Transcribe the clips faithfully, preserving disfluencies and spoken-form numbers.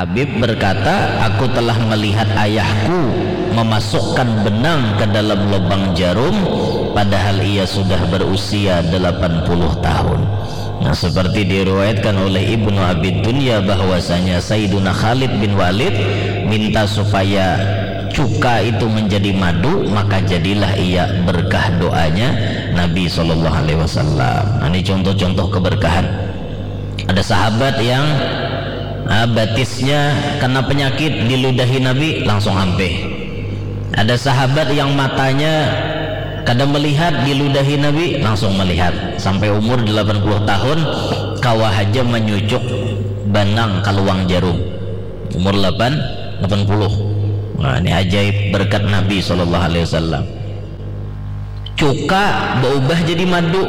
Habib berkata, "Aku telah melihat ayahku memasukkan benang ke dalam lubang jarum, padahal ia sudah berusia delapan puluh tahun." Nah, seperti diriwayatkan oleh Ibnu Abi Dunya bahwasanya Sayyiduna Khalid bin Walid minta supaya cuka itu menjadi madu, maka jadilah ia berkah doanya Nabi Shallallahu Alaihi Wasallam. Nah, ini contoh-contoh keberkahan. Ada sahabat yang, ah, batisnya kena penyakit, diludahi Nabi, langsung ampih. Ada sahabat yang matanya kada melihat, diludahi Nabi, langsung melihat. Sampai umur delapan puluh tahun, kawa haja manyucuk banang ka luang jarum. Umur delapan, delapan puluh. Nah, ini ajaib berkat Nabi Shallallahu Alaihi Wasallam. Cuka baubah jadi madu.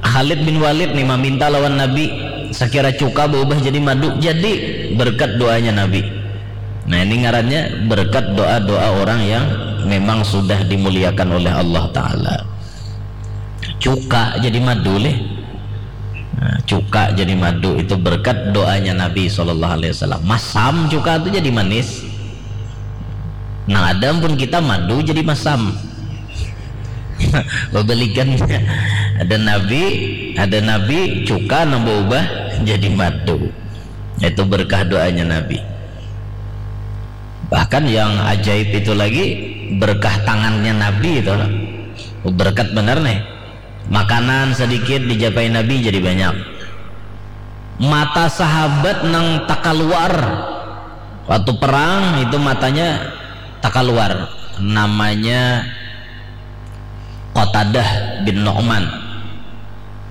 Khalid bin Walid nih maminta lawan Nabi, sakira cuka baubah jadi madu, jadi berkat doanya Nabi. Nah, ini ngarannya berkat doa-doa orang yang memang sudah dimuliakan oleh Allah Ta'ala. Cuka jadi madu leh. Nah, cuka jadi madu itu berkat doanya Nabi Shallallahu Alaihi Wasallam. Masam cuka itu jadi manis. Nah, ada pun kita madu jadi masam. Bebalikannya, ada nabi, ada nabi cuka nang berubah jadi madu. Itu berkah doanya Nabi. Bahkan yang ajaib itu lagi, berkah tangannya Nabi itu. Berkat benar nih. Makanan sedikit dijapai Nabi jadi banyak. Mata sahabat nang takaluar waktu perang itu, matanya takaluar. Namanya Qatadah bin Nu'man.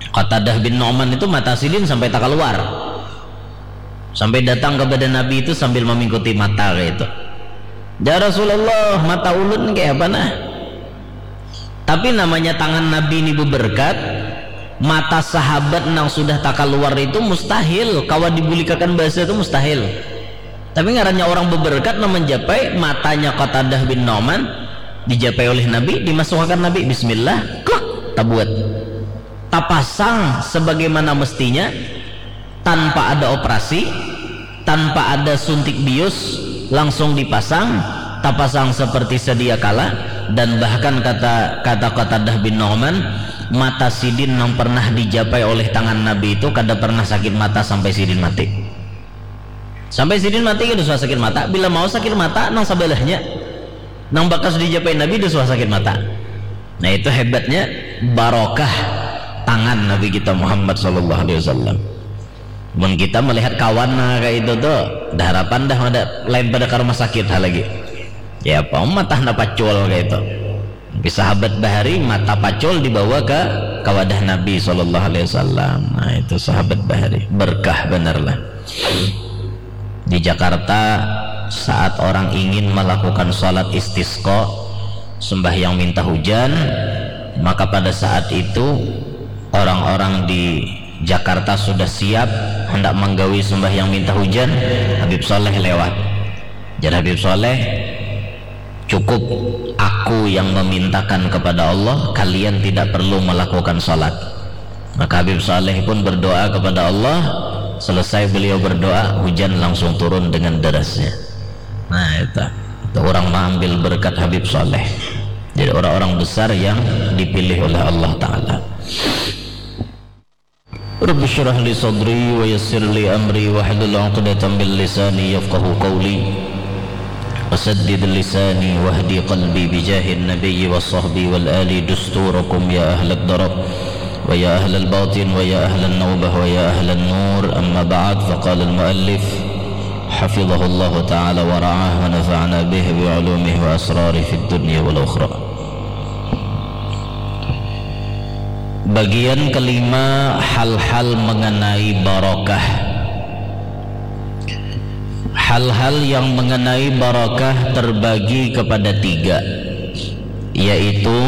Qatadah bin Nu'man itu mata sidin sampai takaluar. Sampai datang kepada Nabi itu sambil memingkuti mata kayak itu. "Ya Rasulullah, mata ulun kayak apa nah?" Tapi namanya tangan Nabi ini beberkat, mata sahabat nang sudah takaluar itu mustahil, kawa dibulikakan bahasa itu mustahil. Tapi ngarannya orang beberkat nang menjapai, matanya Qatadah bin Nu'man dijapai oleh Nabi, dimasukkan Nabi, bismillah, klak, tabuat. Tapasang sebagaimana mestinya, tanpa ada operasi, tanpa ada suntik bius, langsung dipasang, tapasang seperti sedia kala, dan bahkan kata, kata Qatadah bin Nu'man, mata sidin nang pernah dijapai oleh tangan Nabi itu kada pernah sakit mata sampai sidin mati. Sampai sidin mati kada suah sakit mata, bila mau sakit mata nang sabalahnya, nang bakas dijapai Nabi kada suah sakit mata. Nah, itu hebatnya barokah tangan Nabi kita Muhammad sallallahu alaihi wasallam. Mun kita melihat kawan nang kayak itu tuh, dah harapan dah ada lain pada ke rumah sakit ha lagi. Ya apa mata napa pacul kayak itu. Tapi sahabat bahari mata pacul dibawa ke, ke wadah Nabi sallallahu alaihi wasallam. Nah, itu sahabat bahari, berkah benar lah. Di Jakarta, saat orang ingin melakukan salat istisqa, sembahyang minta hujan, maka pada saat itu orang-orang di Jakarta sudah siap hendak menggawi sembahyang minta hujan, Habib Saleh lewat. Jar Habib Saleh, "Cukup aku yang memintakan kepada Allah, kalian tidak perlu melakukan salat." Maka Habib Saleh pun berdoa kepada Allah, selesai beliau berdoa, hujan langsung turun dengan derasnya. Nah, itu, itu orang mengambil berkat Habib Saleh. Jadi orang-orang besar yang dipilih oleh Allah Ta'ala. Rabbi syrah li sadri wa yassir li amri wahlul uqdatan min lisani yafqahu qawli. Wasaddid lisani wahdi qalbi bijahin nabiyyi wa sahbi wal ali dusturakum ya ahlad darar wa ya ahlal batin wa ya ahlan nawbah wa ya ahlan nur. Amma ba'd, faqala al muallif hafizahullahu ta'ala wa ra'ah wa nafa'ana bihi wa ulumihi wa asrarihi fid dunya wal ukhra. Bagian kelima, hal-hal mengenai barokah. Hal-hal yang mengenai barokah terbagi kepada tiga, yaitu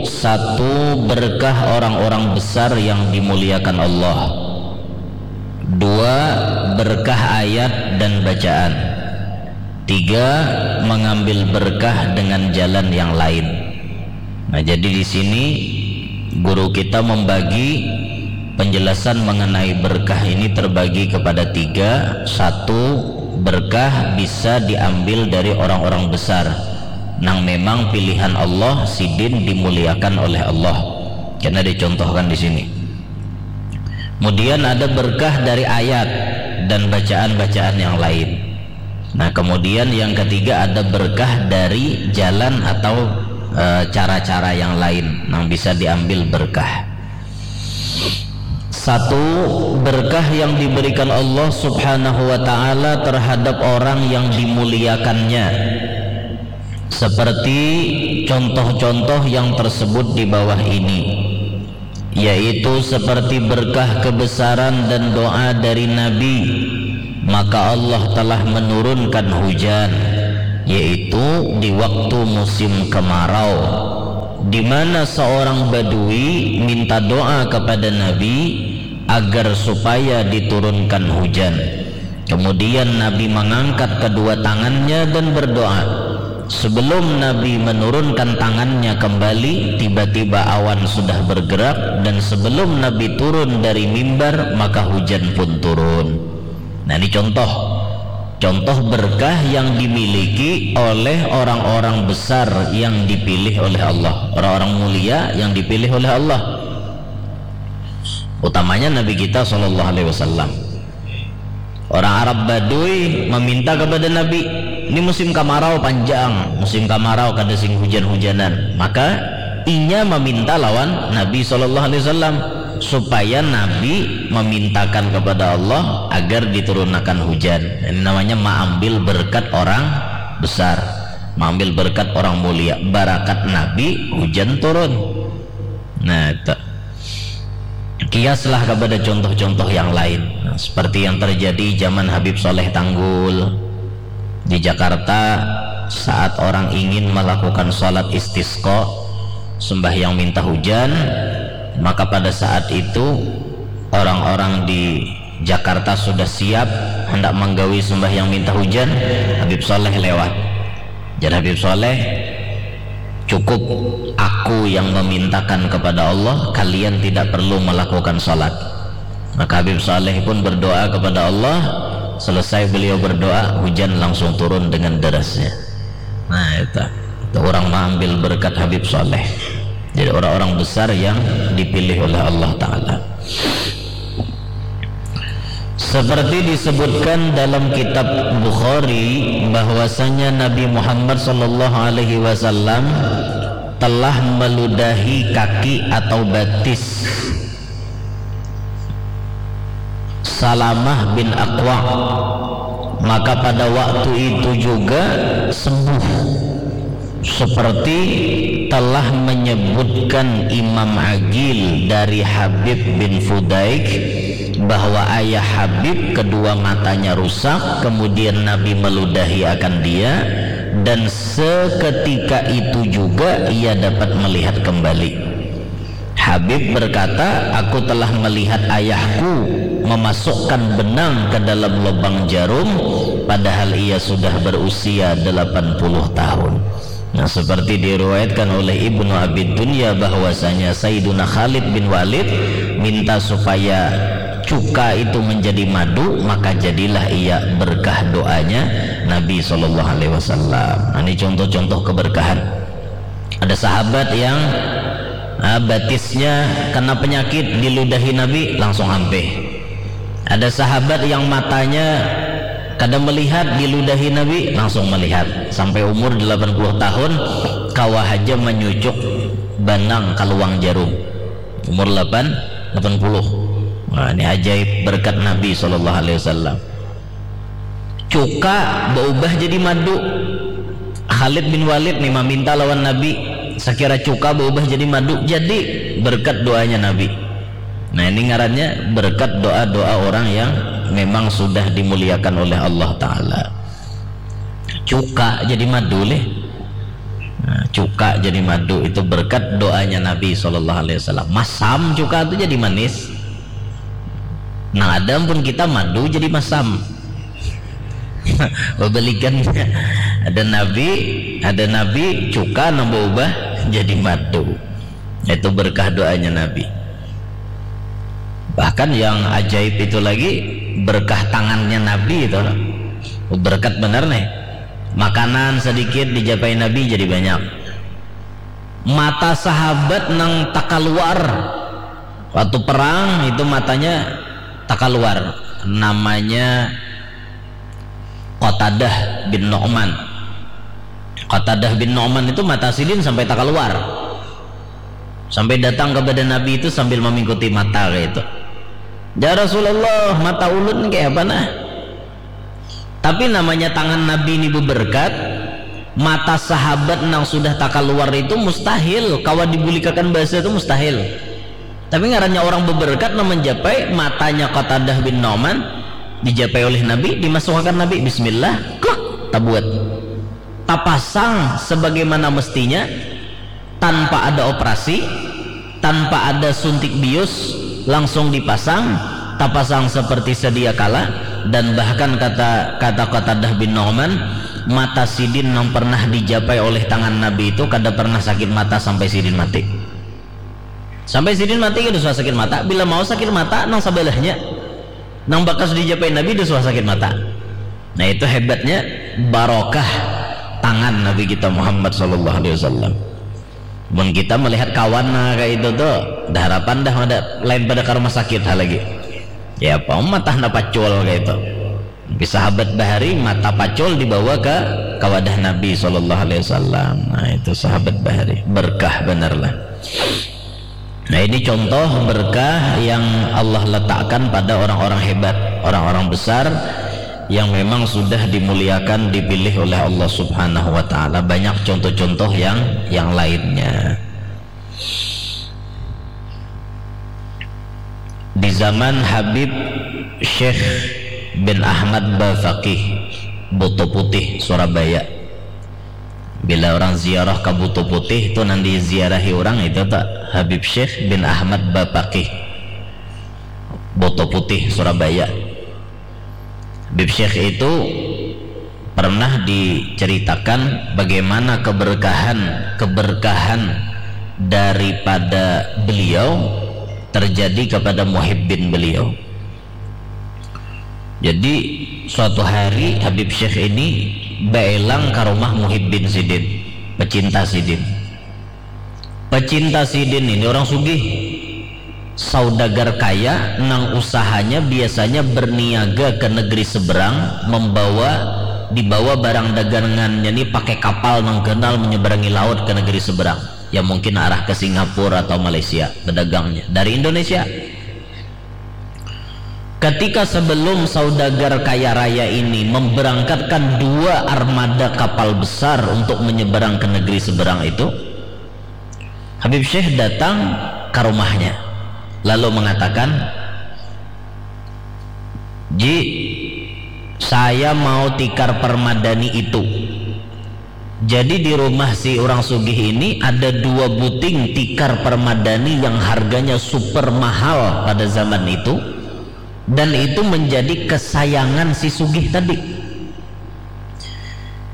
satu, berkah orang-orang besar yang dimuliakan Allah. Dua, berkah ayat dan bacaan. Tiga, mengambil berkah dengan jalan yang lain. Nah, jadi di sini guru kita membagi penjelasan mengenai berkah ini terbagi kepada tiga. Satu, Berkah bisa diambil dari orang-orang besar nang memang pilihan Allah, sidin dimuliakan oleh Allah. Karena dicontohkan di sini. Kemudian ada berkah dari ayat dan bacaan-bacaan yang lain. Nah, kemudian yang ketiga ada berkah dari jalan atau, eh, cara-cara yang lain yang bisa diambil berkah. Satu, berkah yang diberikan Allah Subhanahu wa Ta'ala terhadap orang yang dimuliakannya, seperti contoh-contoh yang tersebut di bawah ini, yaitu seperti berkah kebesaran dan doa dari Nabi, maka Allah telah menurunkan hujan, yaitu di waktu musim kemarau, di mana seorang badui minta doa kepada Nabi agar supaya diturunkan hujan. Kemudian Nabi mengangkat kedua tangannya dan berdoa. Sebelum Nabi menurunkan tangannya kembali, tiba-tiba awan sudah bergerak, dan sebelum Nabi turun dari mimbar, maka hujan pun turun. Nah, ini contoh. Contoh berkah yang dimiliki oleh orang-orang besar yang dipilih oleh Allah, orang-orang mulia yang dipilih oleh Allah. Utamanya Nabi kita, sallallahu alaihi wasallam. Orang Arab Badui meminta kepada Nabi, ini musim kamarau panjang, musim kamarau kada sing hujan-hujanan. Maka inya meminta lawan Nabi, sallallahu alaihi wasallam, supaya Nabi memintakan kepada Allah agar diturunakan hujan. Ini namanya maambil berkat orang besar, maambil berkat orang mulia. Barakat Nabi, hujan turun. Nah, itu. Kiaslah kepada contoh-contoh yang lain. Nah, seperti yang terjadi zaman Habib Saleh Tanggul di Jakarta, saat orang ingin melakukan salat istisqa, sembahyang minta hujan, maka pada saat itu orang-orang di Jakarta sudah siap hendak menggawi sembahyang minta hujan, Habib Saleh lewat. Jar Habib Saleh, "Cukup aku yang memintakan kepada Allah, kalian tidak perlu melakukan salat." Maka Habib Saleh pun berdoa kepada Allah, selesai beliau berdoa, hujan langsung turun dengan derasnya. Nah, itu. Itu orang mengambil berkat Habib Saleh. Jadi orang-orang besar yang dipilih oleh Allah Ta'ala. Seperti disebutkan dalam kitab Bukhari bahwasanya Nabi Muhammad sallallahu alaihi wasallam telah meludahi kaki atau batis Salamah bin Aqwa, maka pada waktu itu juga sembuh. Seperti telah menyebutkan Imam Agil dari Habib bin Fudaik bahwa ayah Habib kedua matanya rusak, kemudian Nabi meludahi akan dia, dan seketika itu juga ia dapat melihat kembali. Habib berkata, "Aku telah melihat ayahku memasukkan benang ke dalam lubang jarum, padahal ia sudah berusia delapan puluh tahun." Nah, seperti diriwayatkan oleh Ibnu Abi Dunya bahwasanya Sayyiduna Khalid bin Walid minta supaya cuka itu menjadi madu, maka jadilah ia berkah doanya Nabi sallallahu alaihi wasallam. Nah, ini contoh-contoh keberkahan. Ada sahabat yang, ah, batisnya kena penyakit, diludahi Nabi, langsung ampih. Ada sahabat yang matanya kada melihat, diludahi Nabi, langsung melihat. Sampai umur delapan puluh tahun, kawa haja manyucuk banang ka luang jarum. Umur delapan, delapan puluh. Nah, ini ajaib berkat Nabi sallallahu alaihi wasallam. Cuka baubah jadi madu. Khalid bin Walid nih maminta lawan Nabi, sakira cuka baubah jadi madu, jadi berkat doanya Nabi. Nah, ini ngarannya berkat doa-doa orang yang memang sudah dimuliakan oleh Allah Ta'ala. Cuka jadi madu leh. Nah, cuka jadi madu itu berkat doanya Nabi sallallahu alaihi wasallam. Masam cuka itu jadi manis. Nah, ada pun kita madu jadi masam. Bebalikannya. Ada Nabi, ada Nabi cuka nang berubah jadi madu. Itu berkah doanya Nabi. Bahkan yang ajaib itu lagi, berkah tangannya Nabi itu. Berkat benar nih. Makanan sedikit dijapai Nabi jadi banyak. Mata sahabat nang takaluar waktu perang itu matanya takaluar. Namanya Qatadah bin Nu'man. Qatadah bin Nu'man itu mata sidin sampai takaluar. Sampai datang kepada Nabi itu sambil memingkuti mata kayak itu. Ya Rasulullah, mata ulun kayak apa nah? Tapi namanya tangan Nabi ini beberkat, mata sahabat nang sudah takaluar itu mustahil, kawa dibulikakan bahasa itu mustahil. Tapi ngarannya orang beberkat nang menjapai matanya Qatadah bin Nu'man dijapai oleh Nabi, dimasukakan Nabi, bismillah, kah, tabuat. Tapasang sebagaimana mestinya, tanpa ada operasi, tanpa ada suntik bius, langsung dipasang, tapasang seperti sedia kala, dan bahkan kata kata Qatadah bin Nu'man, mata sidin yang pernah dijapai oleh tangan Nabi itu kada pernah sakit mata sampai sidin mati. Sampai sidin mati kada suah sakit mata. Bila mau sakit mata, nang sabelahnya, nang bakas dijapai Nabi, kada suah sakit mata. Nah, itu hebatnya barokah tangan Nabi kita Muhammad sallallahu alaihi wasallam. Mun kita melihat kawan nah kayak itu tuh, dah harapan dah ada lain pada ke rumah sakit ha lagi. Ya apa mata na pacul kayak itu. Tapi sahabat bahari mata pacul dibawa ke kawadah Nabi sallallahu alaihi wasallam. Nah, itu sahabat bahari berkah benar lah. Nah, ini contoh berkah yang Allah letakkan pada orang-orang hebat, orang-orang besar yang memang sudah dimuliakan, dipilih oleh Allah Subhanahu wa taala. Banyak contoh-contoh yang yang lainnya. Di zaman Habib Syekh bin Ahmad Bafaqih, Buto Putih, Surabaya. Bila orang ziarah ke Buto Putih itu nanti ziarahi orang itu tak Habib Syekh bin Ahmad Bapakih, Buto Putih, Surabaya. Habib Syekh itu pernah diceritakan bagaimana keberkahan keberkahan daripada beliau terjadi kepada muhibbin beliau. Jadi suatu hari Habib Syekh ini baelang ke rumah muhibbin sidin, pecinta sidin. Pecinta sidin ini orang sugih, saudagar kaya nang usahanya biasanya berniaga ke negeri seberang, membawa dibawa barang dagangannya ni pakai kapal nang ganal menyeberangi laut ke negeri seberang, ya mungkin arah ke Singapura atau Malaysia bedagangnya dari Indonesia. Ketika sebelum saudagar kaya raya ini memberangkatkan dua armada kapal besar untuk menyeberang ke negeri seberang itu, Habib Syekh datang ke rumahnya lalu mengatakan, "Ji, saya mau tikar permadani itu." Jadi di rumah si orang sugih ini ada dua buting tikar permadani yang harganya super mahal pada zaman itu, dan itu menjadi kesayangan si sugih tadi.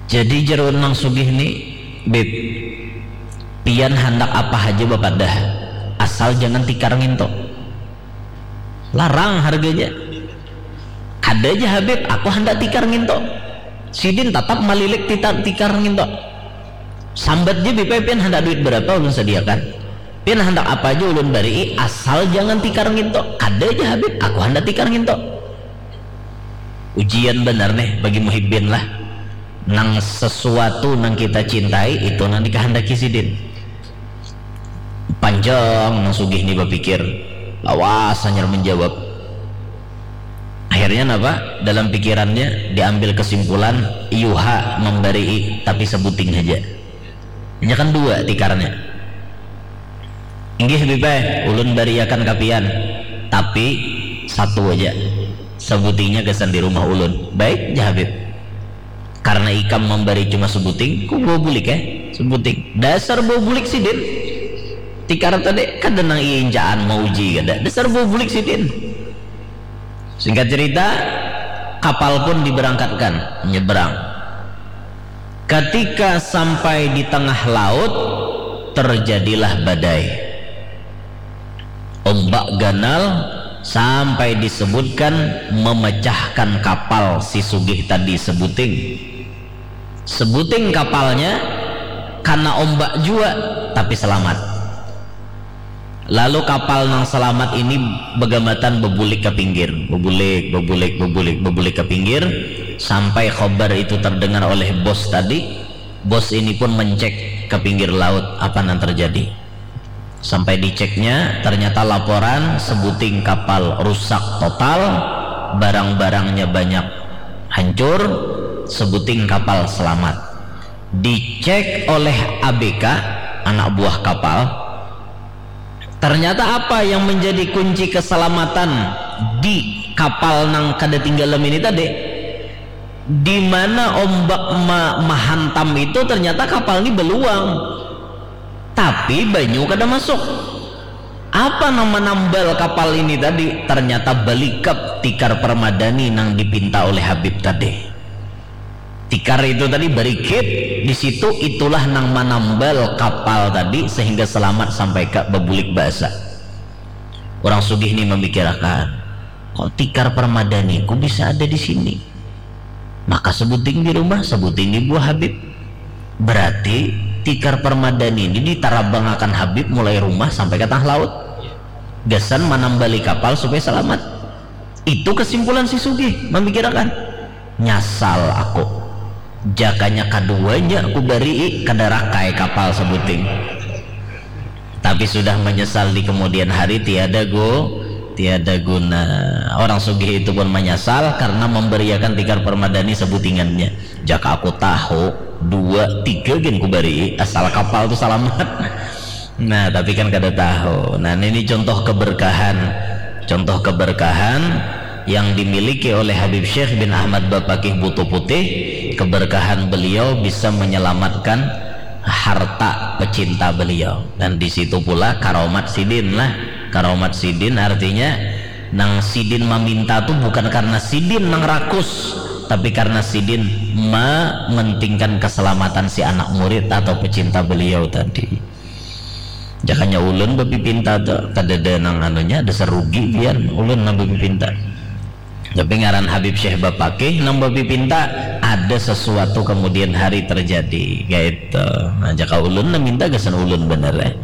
Jadi jeru nang sugih ni, "Bib, pian handak apa haja bapadah, asal jangan tikar nginto." Larang harganya. "Kada ja Habib, aku handak tikar nginto." Sidin tatap malilik tikar nginto. "Sambat ja Bib, pian handak duit berapa ulun sediakan. Pian handak apa aja ulun barii, asal jangan tikar nginto." "Kada ja Habib, aku handak tikar nginto." Ujian benar nih bagi muhibbin lah. Nang sesuatu nang kita cintai itu nang dikahandaki sidin. Panjang nang sugih ni bapikir, lawas hanyar menjawab. Akhirnya napa? Dalam pikirannya diambil kesimpulan, "Yuha membarii tapi sebuting saja." Hanya kan dua tikarnya. "Inggih Habib, ulun bariakan kapian, tapi satu aja, sebutingnya gasan di rumah ulun." "Baik ja Habib." Karena ikam memberi cuma sebuting, ku bawa bulik ya, sebuting. Dasar bawa bulik sidin. Tikar tadi kada nang iincaan mau uji kada. Dasar bawa bulik sidin. Singkat cerita, kapal pun diberangkatkan, menyeberang. Ketika sampai di tengah laut, terjadilah badai. Ombak ganal Sampai disebutkan memecahkan kapal si sugih tadi sebuting. Sebuting kapalnya kana ombak jua, tapi selamat. Lalu kapal nang selamat ini begamatan bebulik ke pinggir, bebulik, bebulik, bebulik, bebulik ke pinggir, sampai khobar itu terdengar oleh bos tadi. Bos ini pun mencek ke pinggir laut apa yang terjadi. Sampai diceknya, ternyata laporan sebuting kapal rusak total, barang-barangnya banyak hancur, sebuting kapal selamat. Dicek oleh A B K, anak buah kapal, ternyata apa yang menjadi kunci keselamatan di kapal nang kada tinggalam ini tadi? Di mana ombak ma- mahantam itu, ternyata kapal ini beluang, tapi banyu kada masuk. Apa nama nambal kapal ini tadi? Ternyata balikap tikar permadani nang dipinta oleh Habib tadi. Tikar itu tadi barikit di situ, itulah nang manambal kapal tadi sehingga selamat sampai ka babulik baasa. Orang sugih ni mamikirakan, kok tikar permadaniku bisa ada di sini? Maka sebuting di rumah, sebuting di buah Habib. Berarti tikar permadani ini ditarabangakan Habib mulai rumah sampai ke tengah laut. Gasan manambali kapal supaya selamat. Itu kesimpulan si sugih mamikirakan. Nyasal aku. Jakanya kaduanya aku barii kada rakai kapal sebuting. Tapi sudah menyesal di kemudian hari tiada gu tiada guna. Orang sugih itu pun menyesal karena memberiakan tikar permadani sebutingannya. Jaka aku tahu dua tiga gin ku barii asal kapal tu salamat. Nah, tapi kan kada tahu. Nah, ini contoh keberkahan, contoh keberkahan yang dimiliki oleh Habib Syekh bin Ahmad Bapakih Butuh Putih. Keberkahan beliau bisa menyelamatkan harta pecinta beliau. Dan di situ pula karomat sidin lah. Karomat sidin artinya nang sidin maminta tu bukan karena sidin nang rakus, tapi karena sidin mementingkan keselamatan si anak murid atau pecinta beliau tadi. Jakanya ulun bapipinta tu kadada nang anunya, dasar rugi pian ulun nang bapipinta. Tapi ngaran Habib Syekh Bapakih nang bapipinta, ada sesuatu kemudian hari terjadi kaitu. Nah, jaka ulun nang minta gasan ulun banar eh.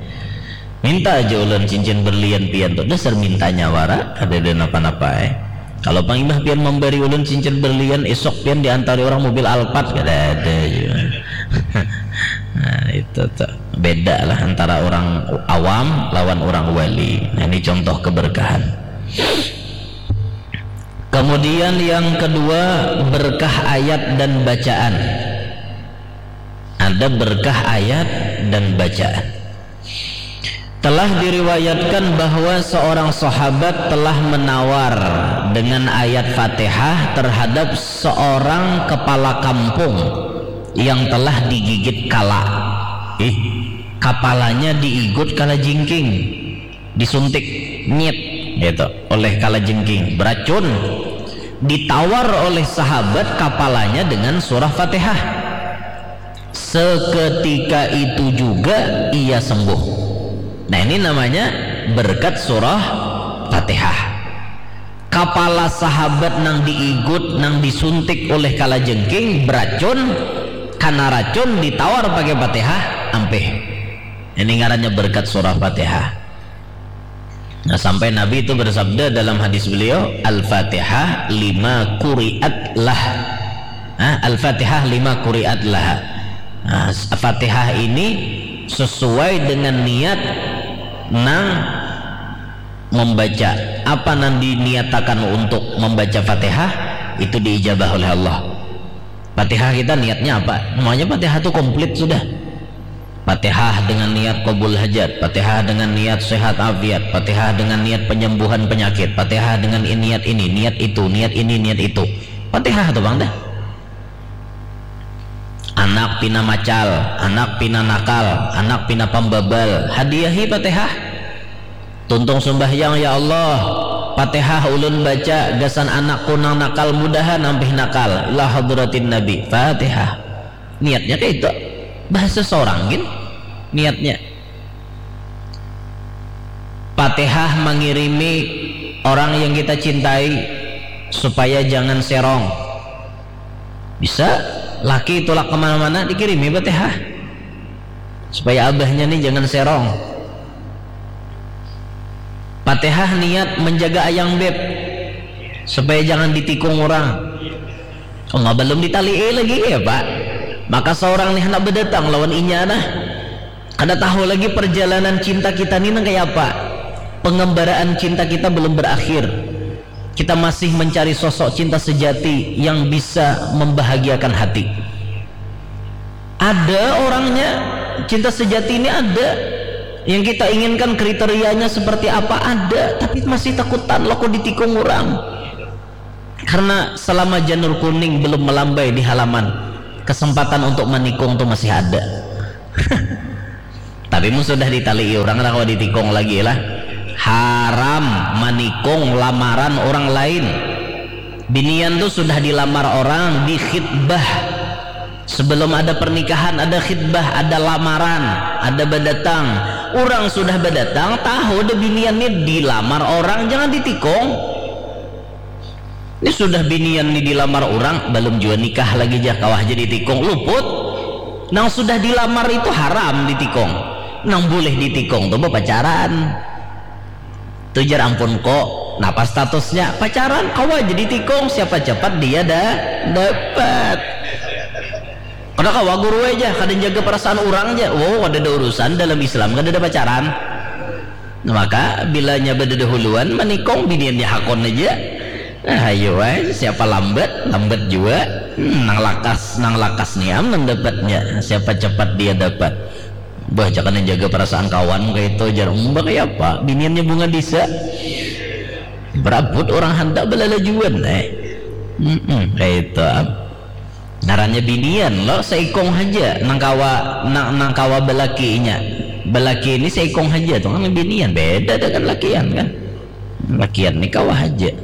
Minta aja ulun cincin berlian pian tu, dasar mintanya wara, kadada napa-napa eh. Kalau pang imbah pian mambari ulun cincin berlian, isuk pian diantari orang mobil Alphard, kadada jua. Nah, itu tu beda lah antara orang awam lawan orang wali. Nah, ini contoh keberkahan. Kemudian yang kedua, berkah ayat dan bacaan. Ada berkah ayat dan bacaan. Telah diriwayatkan bahwa seorang sahabat telah menawar dengan ayat Fatihah terhadap seorang kepala kampung yang telah digigit kala. Ih, kapalanya diigut kala jingking, disuntik, nyit, gitu, oleh kala jingking, beracun. Ditawar oleh sahabat kapalanya dengan surah Fatihah. Seketika itu juga ia sembuh. Nah, ini namanya berkat surah Fatihah. Kapala sahabat nang diigut, nang disuntik oleh kalajengking beracun, kana racun ditawar pakai Fatihah, ampih. Ini ngarannya berkat surah Fatihah. Nah, sampai Nabi itu bersabda dalam hadis beliau, "Al-Fatihah lima quri'at lah." Hah? "Al-Fatihah lima quri'at lah." Nah, Fatihah ini sesuai dengan niat nang membaca. Apa nang diniatakan untuk membaca Fatihah, itu diijabah oleh Allah. Fatihah kita niatnya apa? Maunya Fatihah itu komplit sudah. Fatihah dengan niat kabul hajat, Fatihah dengan niat sehat afiat, Fatihah dengan niat penyembuhan penyakit, Fatihah dengan niat ini, niat itu, niat ini, niat itu. Fatihah tu pang dah. Anak pina macal, anak pina nakal, anak pina pambabal, hadiahi Fatihah. Tuntung sumbahyang, ya Allah, Fatihah ulun baca gasan anakku nang nakal, mudahan ampih nakal. Ila hadratin Nabi. Fatihah. Niatnya kayak itu. Bahasa sorang gin niatnya. Fatihah mangirimi Orang yang kita cintai supaya jangan serong. Bisa laki tulak kemana-mana dikirimi Fatihah supaya abahnya nih jangan serong. Fatihah niat menjaga ayang beb supaya jangan ditikung orang. Allah belum ditalii lagi ya pak. Maka seorang nih hendak berdatang lawan inya nah. Kada tahu lagi perjalanan cinta kita ni nang kaya apa. Pengembaraan cinta kita belum berakhir. Kita masih mencari sosok cinta sejati yang bisa membahagiakan hati. Ada orangnya, cinta sejati ini ada. Yang kita inginkan kriterianya seperti apa ada, tapi masih takutan loko ditikung orang. Karena selama janur kuning belum melambai di halaman, kesempatan untuk menikung tuh masih ada. Tapi mun sudah ditalii orang lah kalau ditikung lagi lah. Haram menikung lamaran orang lain. Binian tuh sudah dilamar orang di khitbah. Sebelum ada pernikahan ada khitbah, ada lamaran, ada berdatang. Orang sudah berdatang, tahu deh binian nih dilamar orang, jangan ditikung. Ini sudah binian ni dilamar orang, belum jua nikah lagi jah, kawah jadi tikung, luput. Nang sudah dilamar itu haram ditikung. Nang boleh ditikung tuh pacaran. Tuh jar ampun kok, napa statusnya pacaran, kawah jadi tikung, siapa cepat dia dah dapat. Kada kawa guru aja, kada jaga perasaan orang aja. Wow, kada ada urusan dalam Islam, kada ada pacaran. Maka bilanya badadahuluan manikung biniannya hakon aja. Nah, ayo wae, siapa lambat, lambat jua. Hmm, nang lakas, nang lakas ni am nang dapatnya. Siapa cepat dia dapat. Bah, jangan jaga perasaan kawan kayak itu jar. Umba kayak apa? Biniannya bunga disa. Berabut orang handak belalajuan eh. Hmm, kayak itu am. Ngarannya binian lo seikung haja nang kawa nang, nang kawa belakinya. Belaki ini seikung haja tuh kan binian beda dengan lakian kan. Lakian ini kawa haja.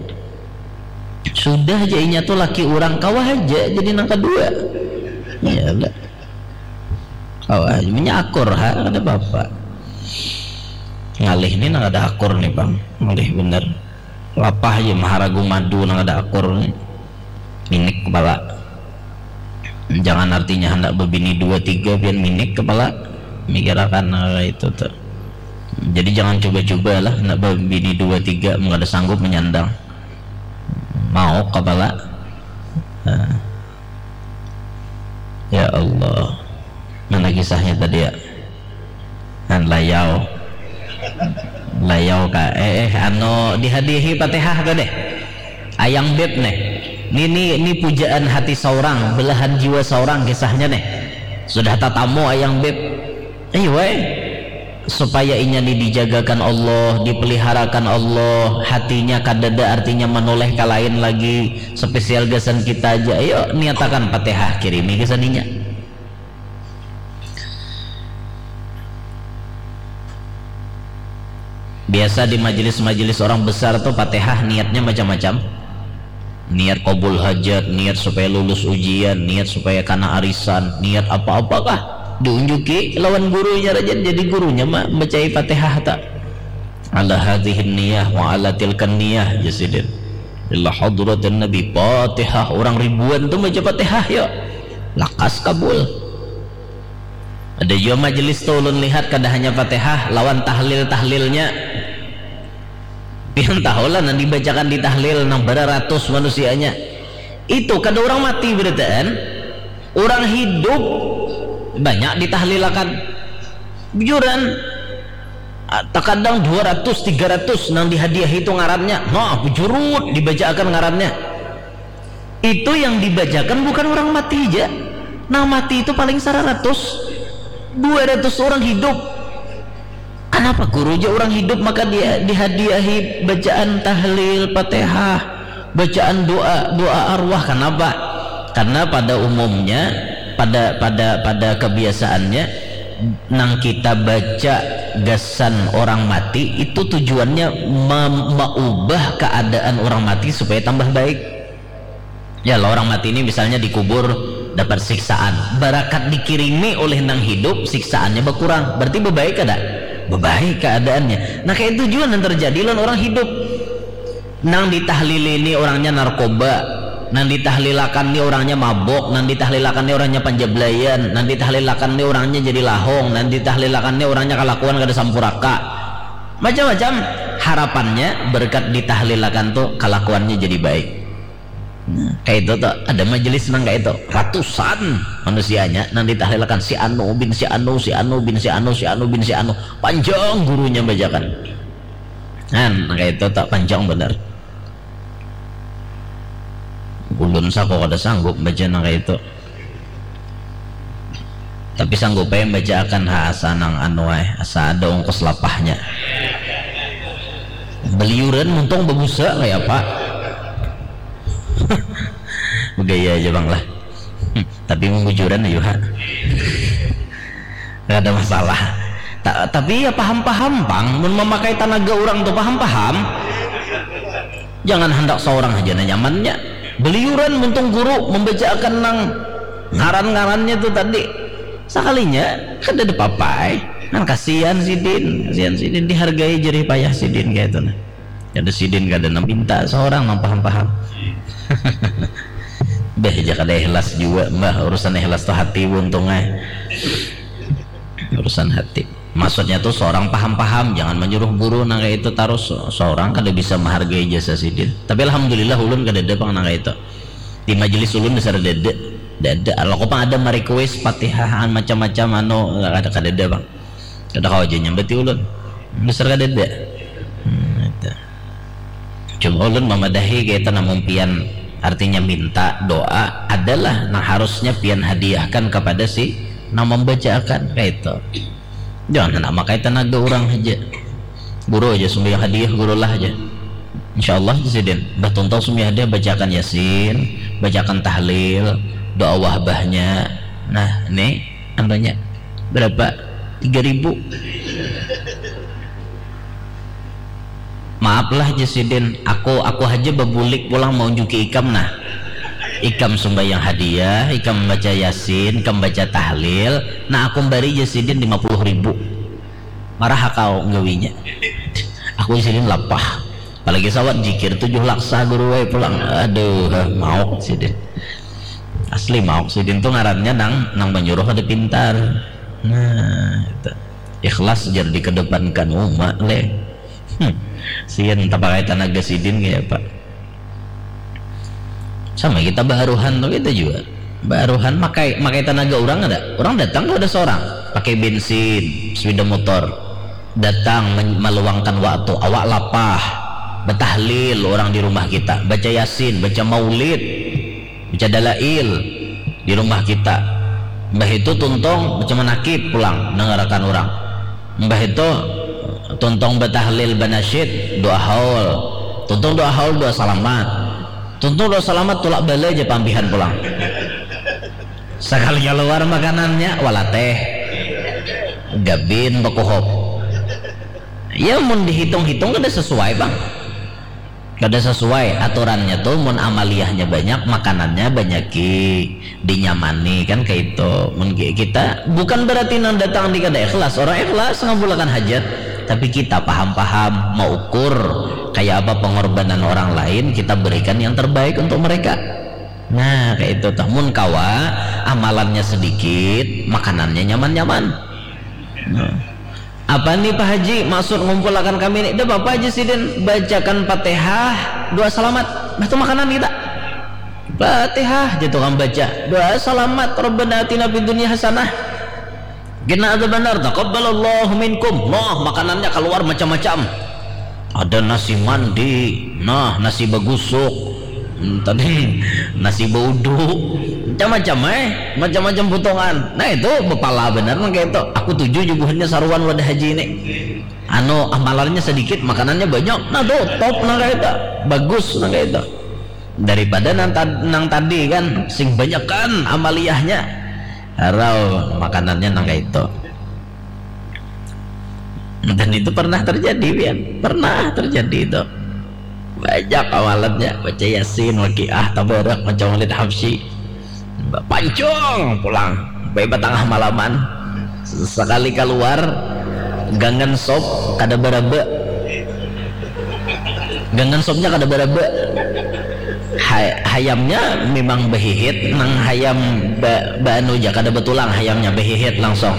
Sudah aja inya tuh laki orang kawa haja jadi nang kedua. Iya lah. Kawa haja menyakur ha ada bapak. Ngalih ini nang ada akur nih bang. Ngalih bener. Lapah aja maharagu madu nang ada akur nih. Minik kepala. Jangan artinya hendak bebini dua tiga pian minik kepala. Mikirakan hal itu tuh. Jadi jangan coba-coba lah hendak bebini dua tiga mun kada sanggup menyandang. Mau kepala. Nah. Ya Allah. Mana kisahnya tadi ya? Kan layau. Layau ka eh, eh anu dihadiahi Fatihah ka deh. Ayang beb neh. Ni ni ni pujaan hati seorang, belahan jiwa seorang kisahnya neh. Sudah tatamu ayang beb. Ayo wae. Supaya inya ni dijagakan Allah, dipeliharakan Allah, hatinya kadada artinya menoleh ka lain lagi, spesial gasan kita aja. Ayo niatakan Fatihah kirimi gasan inya. Biasa di majelis-majelis orang besar tuh Fatihah niatnya macam-macam. Niat kabul hajat, niat supaya lulus ujian, niat supaya kana arisan, niat apa-apakah diunjuki lawan gurunya raja jadi gurunya mah bacai Fatihah tak. Ala hadhihi niyah wa ala tilkan niyah jasidin. Ila hadratin Nabi Fatihah orang ribuan tuh baca Fatihah ya. Lakas kabul. Ada jua majelis tu ulun lihat kada hanya Fatihah lawan tahlil-tahlilnya. Pian tahulah nang dibacakan di tahlil nang bara ratus manusianya. Itu kada orang mati berataan. Orang hidup banyak ditahlilakan. Bujuran. Ah, takadang dua ratus tiga ratus nang dihadiahi itu ngarannya. Nah, bujurut dibacaakan ngarannya. Itu yang dibacakan bukan orang mati aja. Nang mati itu paling saratus, dua ratus orang hidup. Kenapa guru aja orang hidup maka dia dihadiahi bacaan tahlil, Fatihah, bacaan doa, doa arwah? Kenapa? Karena pada umumnya, pada pada pada kebiasaannya nang kita baca gasan orang mati itu tujuannya mem- mengubah keadaan orang mati supaya tambah baik. Ya lah orang mati ini misalnya dikubur dapat siksaan, barakat dikirimi oleh nang hidup siksaannya berkurang, berarti bebaik kada? Bebaik keadaannya. Nah kayak itu juga yang terjadi lawan orang hidup. Nang ditahlili ni orangnya narkoba, nang ditahlilakan ni orangnya mabok, nang ditahlilakan ni orangnya panjablayan, nang ditahlilakan ni orangnya jadi lahong, nang ditahlilakan ni orangnya kalakuan kada sampuraka. Macam-macam. Harapannya berkat ditahlilakan tu kalakuannya jadi baik. Nah, kayak itu tuh, ada majelis nang kayak itu, ratusan manusianya nang ditahlilakan, si anu bin si anu, si anu bin si anu, si anu bin si anu, panjang gurunya bajakan. Nah, kayak itu tuh, panjang bener. Ulun sako kada sanggup baca nang kayak itu. Tapi sanggup aja baca akan ha, asa nang anu ai, asa ada ongkos lapahnya. Beliuran muntung babusa kayak apa? Begaya aja bang lah. Tapi membujuran ayu ha. Gak ada masalah. Ta- tapi ya paham-paham bang, mun memakai tanaga orang tuh paham-paham. Jangan hendak seorang aja nah nyamannya. Beliuran muntung guru membacakan nang ngaran-ngarannya tuh tadi. Sekalinya kada ada papai. Nah, kasihan sidin, kasihan sidin dihargai jerih payah sidin kayak itu nah. Kada sidin kada nang minta seorang nang paham-paham. Beh, aja kada ikhlas juga mbah, urusan ikhlas tuh hati buntung eh. Urusan hati. Maksudnya tuh seorang paham-paham, jangan menyuruh guru nang kayak itu terus. Seorang kada bisa menghargai jasa sidin. Tapi alhamdulillah ulun kada ada pang nang kayak itu. Di majelis ulun dasar dada, dada. Kalau kau pang ada merequest patihahan macam-macam anu kada kada ada pang. Kada kau aja nyambati ulun. Dasar kada ada. Hmm, itu. Cuma ulun mamadahi kita namun pian artinya minta doa adalah nang harusnya pian hadiahkan kepada si nang membacaakan kayak itu. Jangan hendak makai tenaga orang aja. Guru aja sumbayang hadiah guru lah aja. Insya Allah aja sidin. Bah tuntung sumbayang hadiah bacaakan yasin, bacaakan tahlil, doa wahbahnya. Nah, ini anunya berapa? Tiga ribu. Maaf lah aja sidin, aku aku aja babulik pulang mau juki ikam nah. Ikam sumbayang hadiah, ikam baca yasin, ikam baca tahlil, nah aku bari aja sidin lima puluh ribu. Marah kau nggawinya. Aku aja sidin lapah. Apalagi sawat jikir tujuh laksa guru wae pulang. Aduh, mauk sidin. Asli mauk sidin tuh ngarannya nang nang menyuruh ada pintar. Nah, itu. Ikhlas jar dikedepankan uma le. Hmm. Sian tapakai tanaga sidin kayak apa? Sama kita baharuhan tuh kita juga. Baharuhan makai makai tanaga orang ada. Orang datang tuh ada seorang pakai bensin, sepeda motor. Datang men- meluangkan waktu, awak lapah. Betahlil orang di rumah kita, baca yasin, baca maulid, baca dalail di rumah kita. Mbah itu tuntung baca manakib pulang dengarakan orang. Mbah itu tuntung betahlil banasyid doa haul. Tuntung doa haul doa salamat. Tuntung doa salamat tulak bala aja pampihan pulang. Sekali keluar makanannya walateh gabin bakuhop. Ya mun dihitung-hitung kada sesuai bang. Kada sesuai aturannya tuh mun amaliyahnya banyak makanannya banyak ki dinyamani kan kayak itu. Mun ki- kita bukan berarti nang datang di kada ikhlas, orang ikhlas ngabulakan hajat, tapi kita paham-paham mau ukur kayak apa pengorbanan orang lain kita berikan yang terbaik untuk mereka. Nah kayak itu tuh mun kawa amalannya sedikit makanannya nyaman-nyaman. Nah. Apa nih Pak Haji maksud ngumpulakan kami ini? Dah apa aja sidin bacakan Fatihah, doa selamat. Bah tu makanan kita. Fatihah jatuh kan baca. Doa selamat Rabbana atina fid dunya hasanah. Kena ada benar taqabbalallahu minkum. Nah, makanannya keluar macam-macam. Ada nasi mandi, nah nasi bagusuk, hmm, tadi nasi baudu, macam-macam eh, macam-macam potongan. Nah itu bepala benar nang kayak itu. Aku tuju jubuhannya saruan wadah haji ini. Anu amalannya sedikit, makanannya banyak. Nah tuh top nang kayak itu, bagus nang kayak itu. Daripada nang, tad- nang tadi kan, sing banyak kan amaliyahnya. Harau makanannya nang kayak itu. Dan itu pernah terjadi pian, pernah terjadi itu. Banyak awalannya baca yasin wakiah tabarak macam Walid Habsyi. Pancung pulang baik batangah malaman. Sekali keluar gangan sop kada baraba. Gangan sopnya kada baraba. Hay, hayamnya memang behihit, nang hayam ba, baanu ja kada batulang, hayamnya behihit langsung.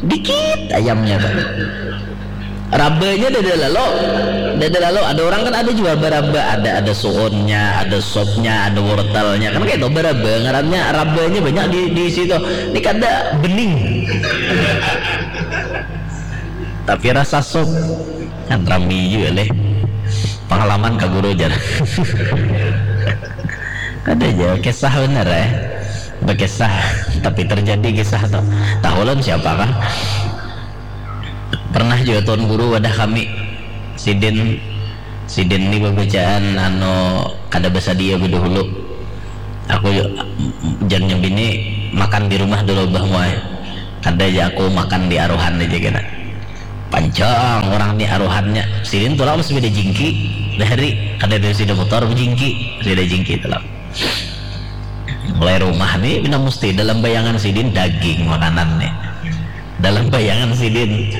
Dikit hayamnya tu. Rabanya dada lalu, dada lalu ada orang kan ada jua baraba, ada ada suunnya, ada sopnya, ada wortelnya, kan kayak itu baraba ngarannya, rabanya banyak di di situ. Ini kada bening. Tapi rasa sop kan rami juga leh. Pengalaman ka guru jar. Ada aja kisah bener eh. Berkisah tapi terjadi kisah tuh. Tahu lon siapa kah? Pernah juga tuan guru wadah kami. Sidin sidin ni bacaan anu kada basadia bedahulu. Aku jannya bini makan di rumah dulu bah muai. Kada aja aku makan di aruhan aja kena. Panjang orang ni aruhannya. Sidin tulang masih beda jingki dari kada dari sida motor jingki, beda jingki tulang. Mulai rumah ni bina mesti dalam bayangan sidin daging makanan ni. Dalam bayangan sidin.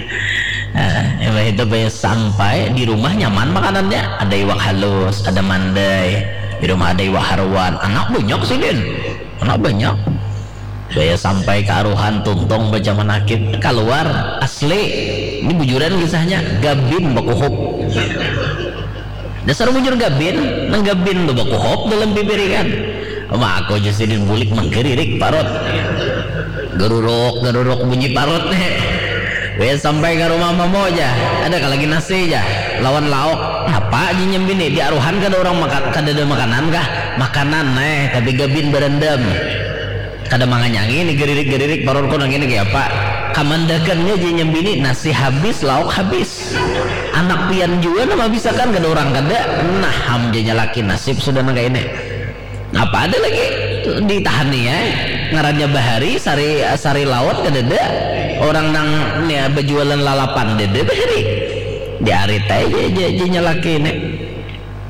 Nah, itu sampai di rumah nyaman makanannya. Ada iwak halus, ada mandai. Di rumah ada iwak haruan. Anak banyak sidin. Anak banyak. Saya sampai ke aruhan tuntung baca manakib keluar asli ini bujuran kisahnya gabin bakuhup. Dasar bujur gabin, nang gabin tu bakuhup dalam pipirikan. Mako ja sidin bulik manggiririk parut. Garuruk garuruk bunyi parut nih. Wes sampai ke rumah mamo aja, ada kah lagi nasi aja lawan lauk. Apa aja nyambini di aruhan kada orang makan, kada ada makanan kah? Makanan neh, tapi gabin berendam. Kada manganyangi ini geririk-geririk parurku nang ini kaya apa. Kamandakannya aja nyambini nasi habis lauk habis. Anak pian jua nama bisakan kada orang kada. Nah ham janya laki nasib sudah nang kaya ini. Apa ada lagi ditahani ya. Ngarannya bahari sari sari laut kada ada. Orang nang ya, berjualan lalapan dede bahari. Di arit aja aja aja nyalaki ini.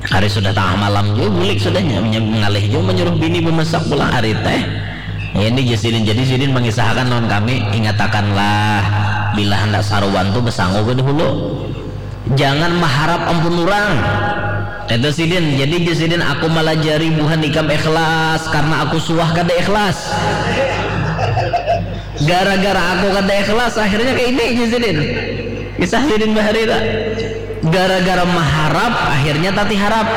Hari sudah tengah malam juga bulik sudah mengalih juga menyuruh bini memasak pulang hari teh. Ya, ini je sidin jadi sidin mengisahkan lawan kami ingatakanlah bila hendak saruan tu besangu ke dahulu. Jangan maharap ampun orang. Kata sidin, jadi je sidin aku malajari buhan ikam ikhlas karena aku suah kada ikhlas. Gara-gara aku kada ikhlas akhirnya kayak ini je sidin. Kisah sidin bahari tak. Gara-gara maharap akhirnya tati harap.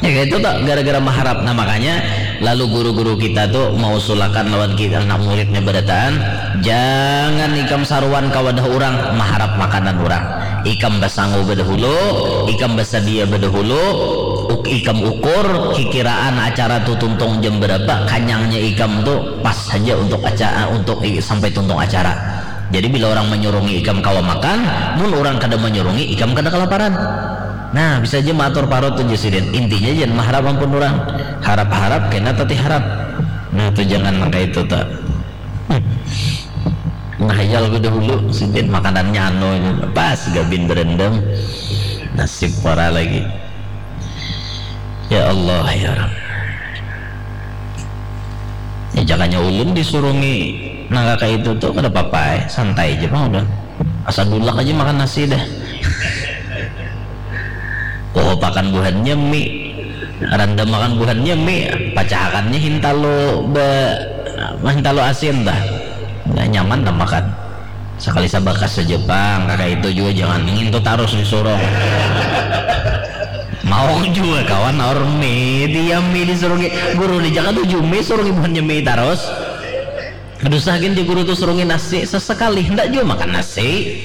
Ya itu tak gara-gara maharap. Nah makanya lalu guru-guru kita tuh mau sulakan lawan kita anak muridnya berataan, jangan ikam saruan ke wadah orang maharap makanan orang. Ikam basangu bedahulu, ikam basadia bedahulu, uk, ikam ukur kikiraan acara tu tuntung jam berapa, kanyangnya ikam tu pas saja untuk acara untuk sampai tuntung acara. Jadi bila orang menyurungi ikam kawa makan, mun orang kada menyurungi ikam kada kelaparan. Nah, bisa aja maatur parut tu sidin. Intinya jangan maharap ampun orang. Harap-harap kena tati harap. Nah, tu jangan nang kaitu ta. Ngahayal ku dahulu sidin makanannya anu ini. Pas gabin berendam. Nasib para lagi. Ya Allah ya Rabb. Ya jakanya ulun disurungi nang kaya itu tu kada papa ai, santai ja pang ulun. Asa dulak aja makan nasi dah. Kuhupakan buhannya mi, randamakan buhannya mi, pacahakannya hintalu ba hintalu asin dah. Nah, nyaman dah makan. Sakali sabakas saja pang, kaka itu jua jangan ngintu tarus disurung. Mauk jua kawan aur mi, tiam mi disurungi. Guru ni jaka tuju mi surungi buhannya mi tarus. Kada usah gin ja guru tu surungi nasi sesekali, handak jua makan nasi.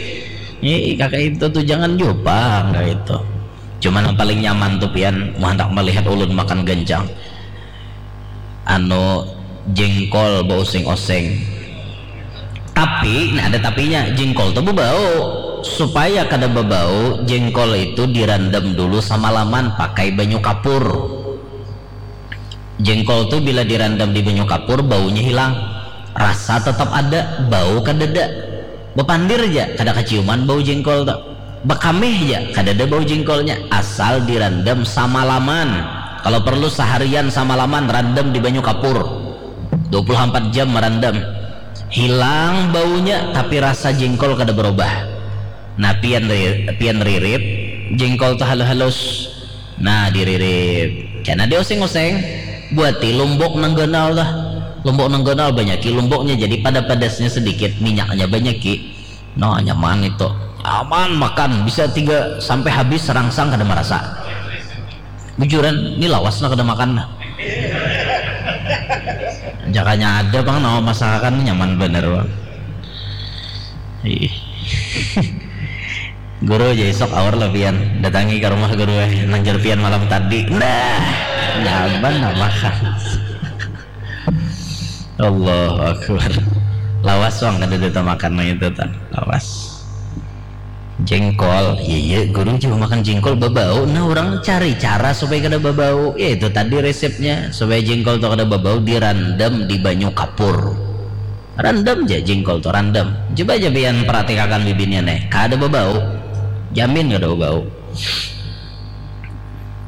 Ih, kaka itu tu jangan jua pang kaka itu. Cuma nang paling nyaman tu pian mun handak malihat ulun makan gancang. Anu jengkol bausing-oseng. Tapi, nah ada tapinya, jengkol tu bebau. Supaya kada bebau, jengkol itu dirandam dulu samalaman pakai banyu kapur. Jengkol tu bila dirandam di banyu kapur baunya hilang, rasa tetap ada, bau kadada. Bepandir ja kada kaciuman bau jengkol tu. Bekameh ja kadada bau jengkolnya, asal dirandam samalaman. Kalau perlu seharian samalaman randam di banyu kapur. Dua puluh empat jam merandam. Hilang baunya tapi rasa jengkol kada berubah. Nah, pian ri, pian ririt, Jengkol tu halus-halus. Nah, diririp. Kena dioseng-oseng. Buati lombok nang ganal dah. Lombok nang ganal banyaki lomboknya, jadi pada-padasnya sedikit, minyaknya banyaki. Nah, nyaman itu. Aman makan, bisa tiga sampai habis serangsang kada marasa. Bujuran, ni lawas nah kada makan nah. Jakanya ada pang nama masakan nyaman banar pang. Ih. Guru aja isok aur lah pian datangi ke rumah guru eh nang jar pian malam tadi nah nyaman nama kan Allahu Akbar lawas wang kada ada makan nang itu tak lawas jengkol iya iya guru juga makan jengkol babau nah orang cari cara supaya kada babau ya itu tadi resepnya supaya jengkol tuh kada babau dirandam di banyu kapur Randam ja jingkol tu randam. Coba ja pian paratikakan bibinnya neh, kada babau. Jamin kada babau.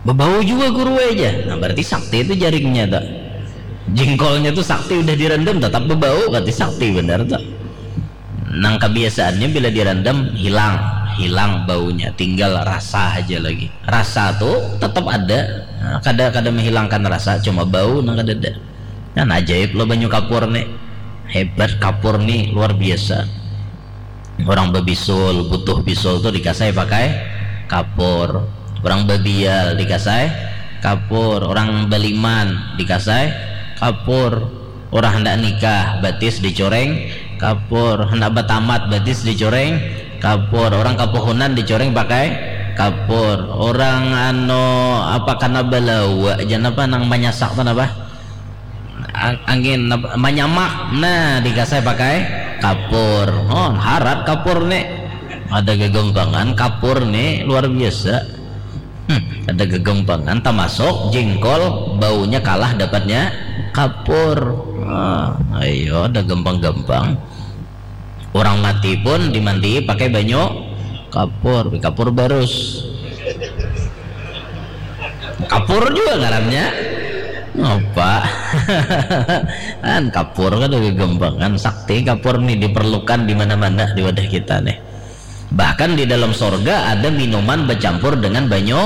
Babau jua guru ai ja. Nah, berarti sakti tu jaringnya tu. Jingkolnya tu sakti udah dirandam tetap babau, berarti sakti banar tu. Nang kabiasaannya bila dirandam hilang, hilang baunya, tinggal rasa haja lagi. Rasa tu tetap ada. Nah, kada kada menghilangkan rasa, cuma bau nang kadada. Kan ajaib lo banyu kapur ni. Hebat kapur ni luar biasa. Orang bebisul, butuh bisul tu dikasai pakai kapur. Orang babial dikasai kapur. Orang baliman dikasai kapur. Orang hendak nikah, batis dicoreng kapur. Hendak batamat, batis dicoreng kapur. Orang kapuhunan dicoreng pakai kapur. Orang ano apa kana balawa jan apa nang manyasak tu napa? Ang- angin napa? Manyamak. Nah, dikasai pakai kapur. Oh, harat kapur ni. Ada gegempangan kapur ni luar biasa. Hmm, ada gegempangan termasuk jengkol baunya kalah dapatnya kapur. Ah, ayo ada gampang-gampang. Orang mati pun dimantii pakai banyu kapur, kapur barus. Kapur juga ngarannya. Apa? Kan kapur kan lebih gampang kan sakti kapur nih diperlukan di mana-mana di wadah kita nih. Bahkan di dalam sorga ada minuman bercampur dengan banyu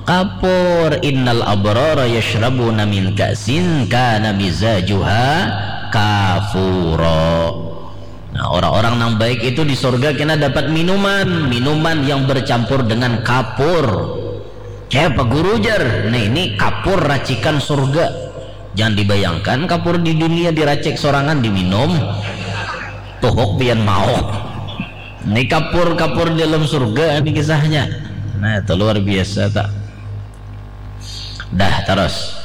kapur. Innal abrara yashrabuna min ka'sin kana mizajuha kafura. Nah, orang-orang nang baik itu di sorga kena dapat minuman, minuman yang bercampur dengan kapur. Kayak apa guru jar? Nah, ini kapur racikan sorga. Jangan dibayangkan kapur di dunia diracik sorangan diminum. Tuhuk pian mau. Ini kapur-kapur di dalam surga ini kisahnya. Nah, itu luar biasa tak. Dah terus.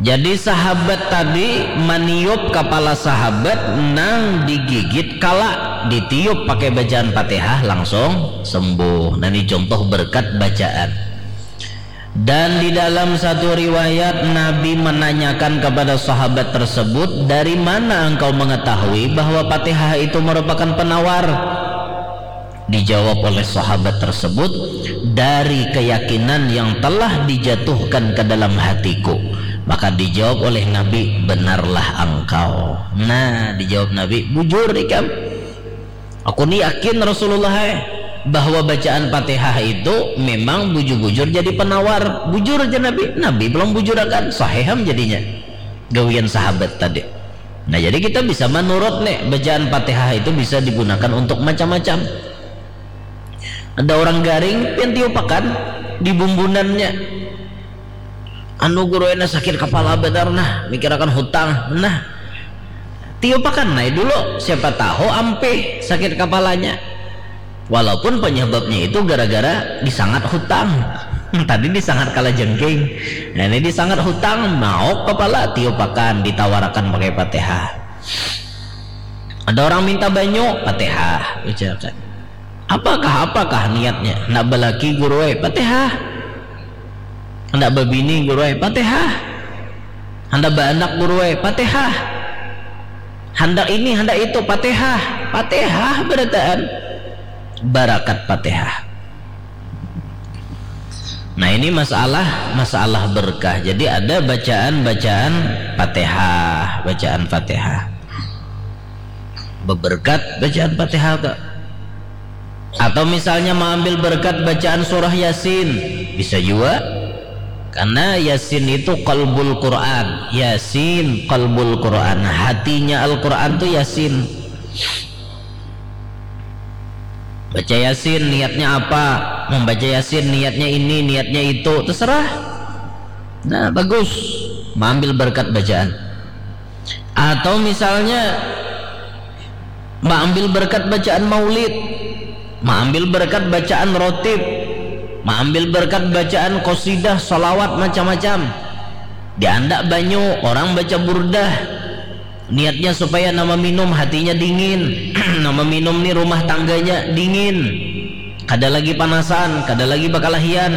Jadi sahabat tadi maniup kepala sahabat nang digigit kala ditiup pakai bacaan Fatihah langsung sembuh. Nah, ini contoh berkat bacaan. Dan di dalam satu riwayat Nabi menanyakan kepada sahabat tersebut, dari mana engkau mengetahui bahwa Fatihah itu merupakan penawar? Dijawab oleh sahabat tersebut, dari keyakinan yang telah dijatuhkan ke dalam hatiku. Maka dijawab oleh Nabi, benarlah engkau. Nah, dijawab Nabi, bujur ikam. Aku ni yakin Rasulullah eh, bahwa bacaan Fatihah itu memang bujur-bujur jadi penawar. Bujur aja Nabi. Nabi belum bujurakan. Sahiham jadinya. Gawian sahabat tadi. Nah, jadi kita bisa menurut nih bacaan Fatihah itu bisa digunakan untuk macam-macam. Ada orang garing pian tiupakan di bumbunannya. Anu guru ena sakit kepala benar nah, mikirakan hutang nah. Tiupakan nai dulu, siapa tahu ampih sakit kepalanya. Walaupun penyebabnya itu gara-gara disangat hutang. Tadi disangat kala jengking. Nah, ini disangat hutang, mauk kepala, tiupakan, ditawarakan pakai Fatihah. Ada orang minta banyu, Fatihah, ucapkan. Apakah apakah niatnya? Nak balaki guru ai, Fatihah. Hendak babini guru ai, Fatihah. Hendak baanak guru ai, Fatihah. Hendak ini, hendak itu, Fatihah. Fatihah berataan. Barakat Fatihah. Nah, ini masalah masalah berkah. Jadi ada bacaan-bacaan Fatihah, bacaan Fatihah. Beberkat bacaan Fatihah kak. Atau misalnya mengambil berkat bacaan surah Yasin, bisa juga. Karena Yasin itu qalbul Quran. Yasin qalbul Quran. Hatinya Al-Quran tuh Yasin. Baca Yasin niatnya apa? Membaca Yasin niatnya ini, niatnya itu, terserah. Nah, bagus. Mengambil berkat bacaan. Atau misalnya mengambil berkat bacaan maulid, mengambil berkat bacaan rotib, mengambil berkat bacaan qasidah, salawat, macam-macam. Diandak banyu, orang baca burdah. Niatnya supaya nama minum hatinya dingin, nama minum ni rumah tangganya dingin, kada lagi panasan, kada lagi bakalahian.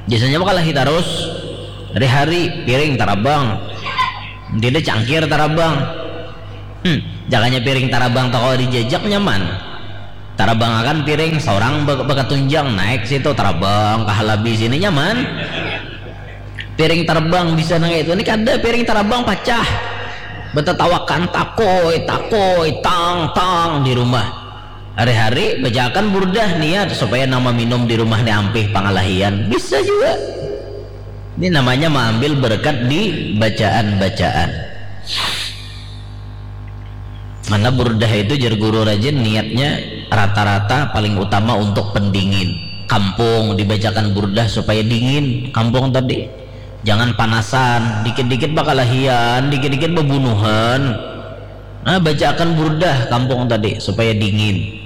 Biasanya bakalahi tarus, hari-hari piring tarabang, tidak cangkir tarabang. Hmm, jakanya piring tarabang toko dijajak nyaman. Tarabang akan piring seorang bakatunjang naik situ tarabang kahalabi sini nyaman. Piring terbang bisa nang itu. Ini kada piring terbang pacah. Betetawakan takoi, takoi, tang, tang di rumah. Hari-hari bacakan burdah niat supaya nama minum di rumah ni ampih pangalahian. Bisa juga. Ini namanya mengambil berkat di bacaan-bacaan. Mana burdah itu jer guru rajin niatnya rata-rata paling utama untuk pendingin. Kampung dibacakan burdah supaya dingin kampung tadi. Jangan panasan, dikit-dikit bakalahian, dikit-dikit bebunuhan. Nah, bacakan burdah kampung tadi supaya dingin.